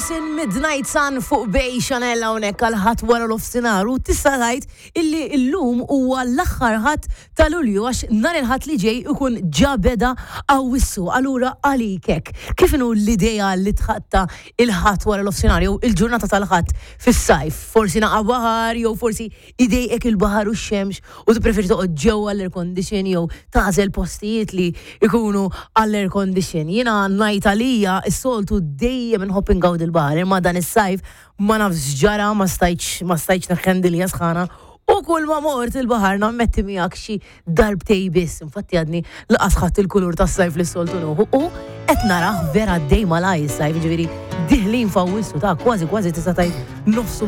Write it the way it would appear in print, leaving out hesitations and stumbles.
Morrison Midnight Sun fuq Bay Chanel hawnhekk għal ħadd wara l-ofsinhar u tista' tgħid illi llum huwa l-aħħar ħadd ta' Lulju għax nhar il-Ħadd li ġej ikun ġa beda Awwissu. Allura għalik hekk, kif inhu l-idea li tħatta il-Ħadd wara l-ofsinhar jew il-ġurnata tal-Ħadd fis-sajf? Forsi naqa' baħar jew forsi idejqek il-baħar u x-xemx u tippreferi toqgħod ġewwa l-air condition jew tagħżel postijiet li jkunu għall-air condition. Jiena ngħid għalija s-soltu dejjem inħobb ingawdi l-baħar imma dan is-sajf ma nafx x'ġara ma stajtx ma stajtx neħħendilja sħana u kull ma mort il-baħar nammetti miegħek xi darbtej biss. Infatti għadni laqas ħadd il-kulur tas-sajf li s-soltu nuħu u qed narah vera għaddej malaj is-sajf, ġifieri diħlin f'Awwissu ta' kważi kważi tista' tgħid nofsu.